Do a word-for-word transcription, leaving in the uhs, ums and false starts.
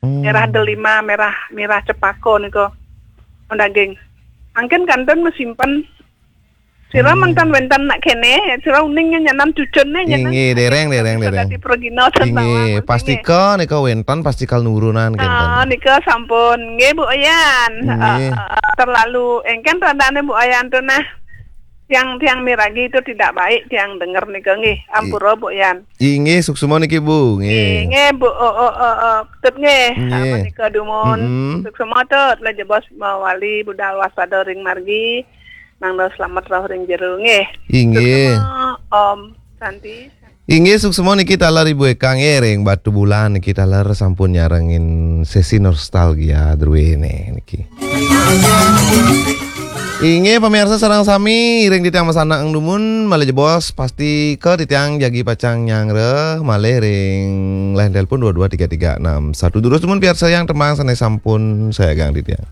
Hmm. Mirah delima, mirah, mirah cepaka nika. Daging. Mangkin kantun masimpen. Sira Hmm. mangkin wénten nak kéné, sira uning nyanan cucunné nyanan. Inggih, déréng, déréng, Bisa déréng. Dadi pragina Inggih, sanawan, pastika nika wénten, pastika nurunan Ah, kénten. Nika sampun. Nggih, Bu Yan. Inggih. Ah, ah, terlalu éngkén radané Bu Yan to nah. Tiang-tiang miragi itu tidak baik, tiang denger nika nggih. Ampura, Bu Yan. Inggih, suksma niki, Bu. Nggih. Nggih, nggih, Bu. Oh, oh, oh, oh. Tut nggih. Nggih. Apa nika dumun? Mm-mm. Suksma Tut, malih jebos mawali budal waspada ring margi. Mangda slamet rauh ring jero nggih. Inggih. Suksma, Om Santi. Inggih, suksma niki taler Ibu Eka nggih ring Batubulan niki taler sampun nyarengin sesi nostalgia druéné niki. Inggih, pamirsa sareng sami, ring titiang masanak dumun, malih jebos, pastika titiang jagi pacang nyangra, malih ring line telepon dua dua tiga tiga enam satu. Durus dumun piarsayang tembang sané sampun sayagang titiang.